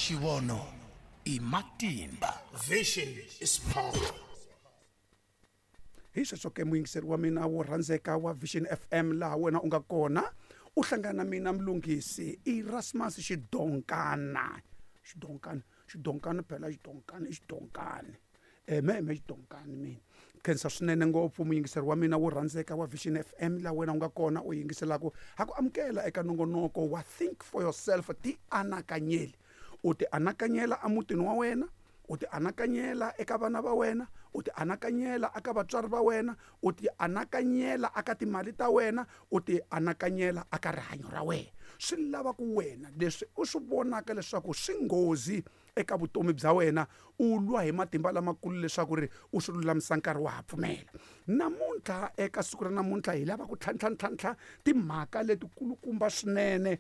Xivono i matimba. Vision is power. Hi sweswo ke muyingiseri wa mina wo rhandzeka wa Vision FM laha wena u nga kona u hlangana na mina mlunghisi Erasmus Xidonkana. Xidonkana, Xidonkana phela Xidonkana i Xidonkani. Me me Xidonkani mina. Khensa swinene ngopfu muyingiseri wa mina wo rhandzeka wa Vision FM laha wena u nga kona u yingiselaka ha ku amukela eka nongonoko wa Think for Yourself ti anakanyeli. U ti anakanyela emutini wa wena, u ti anakanyela eka vana va wena, u ti anakanyela eka vatswari va wena, u ti anakanyela eka timali ta wena, u ti anakanyela eka rihanyo ra wena. Swi lava ku wena leswi u swi vonaka leswaku swi nghozi eka vutomi bya wena u lwa hi matimba lamakulu leswaku ri u swi lulamisa nkarhi wa ha pfumela. Namuntlha eka siku ra namuntlha hi lava ku tlhantlha timhaka letikulukumba swinene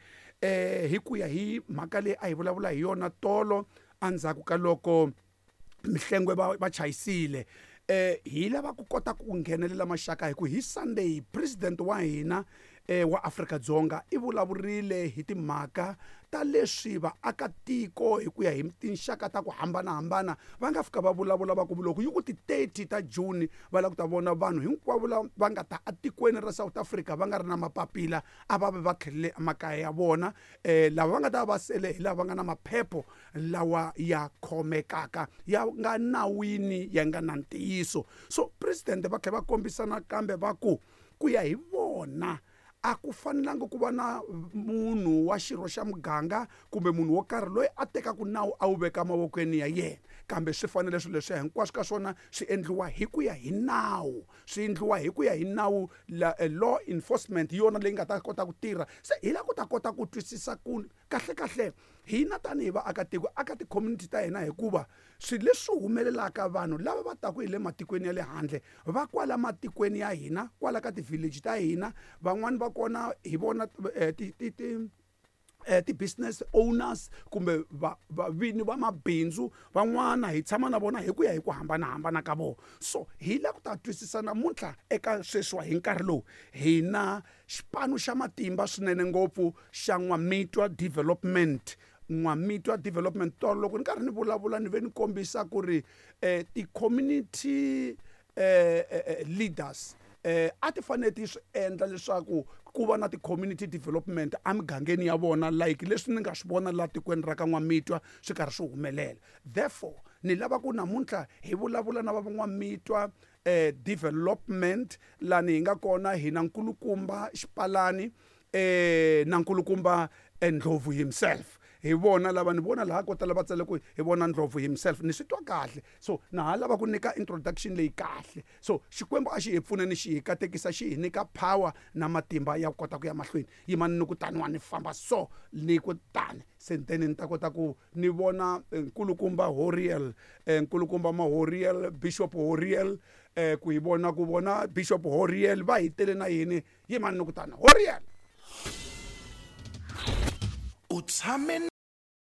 hi ku ya hi mhaka leyi a hi vulavula hi yona tolo endzhaku ka loko Mhlengwe va chayisile. Hi lava ku kota ku nghenelela maxaka hi ku hi Sunday president wa hina wa Afrika-Dzonga i vulavurile hi timhaka ta leswi vaakatiko hi ku ya hi tinxaka ta ku hambanahambana va nga fika va vulavula va ku loko yi ku ti 30 ta June va lava ku ta vona vanhu hinkwavo lava va nga ta etikweni ra South Africa va nga ri na mapapila a va ve va tlhelele emakaya ya vona. Lava va nga ta va sele hi lava va nga na maphepho lawa ya khomekaka ya nga nawini ya nga na ntiyiso. So president va tlhela va kombisa nakambe va ku ku ya hi vona a ku fanelanga ku va na munhu wa xirho xa muganga kumbe munhu wo karhi loyi a tekaka nawu a wu veka mavokweni ya yena, kambe swi fanele swilo leswiya hinkwaswo ka swona swi endliwa hi ku ya hi nawu, swi endliwa hi ku ya hi nawu la law enforcement hi yona leyi nga ta kota ku tirha. Se hi lava ku ta kota ku twisisa ku kahle kahle hina tanihi vaakatiko aka ti-community ta hina, hikuva swilo leswi humelelaka vanhu lava va taka hi le matikweni ya le handle va kwala matikweni ya hina, kwala ka ti-village ta hina, van'wani va kona hi vona ti-business owners kumbe vini va mabindzu, van'wana hi tshama na vona hi ku ya hi ku hambanahambana ka vona. So hi lava ku ta twisisa namuntlha eka sweswiwa hi nkarhi lowu hina xipano xa matimba swinene ngopfu xa N'wamitwa Development. N'wamitwa Development tolo loko ni karhi ni vulavula ni ve ni kombisa ku ri ti-community leaders a ti fanele ti swi endla leswaku ku va na ti-community development emigangeni ya vona, like leswi ni nga swi vona laha tikweni ra ka N'wamitwa swi karhi swi humelela. Therefore ni lava ku namuntlha hi vulavula na va N'wamitwa development lani hi nga kona hi na nkulukumba Xipalani na nkulukumba Ndlovu himself. Hi vona lava ni vona laha ko tala va tsale ku hi vona Ndlovu himself, ni swi twa kahle. So na ha lava ku nyika introduction leyi kahle. So Xikwembu a xi hi pfuneni, xi hi katekisa, xi hi nyika power na matimba ya ku kota ku ya mahlweni. Yimani ni ku taniwa ni famba so ni ku tani se then ni ta kota ku ni vona nkulukumba Horiel, nkulukumba Mahoriel, Bishop Horiel, ku hi vona ku vona Bishop Horiel va hi tele na yini. Yimani ni ku tani Horiel. U tshame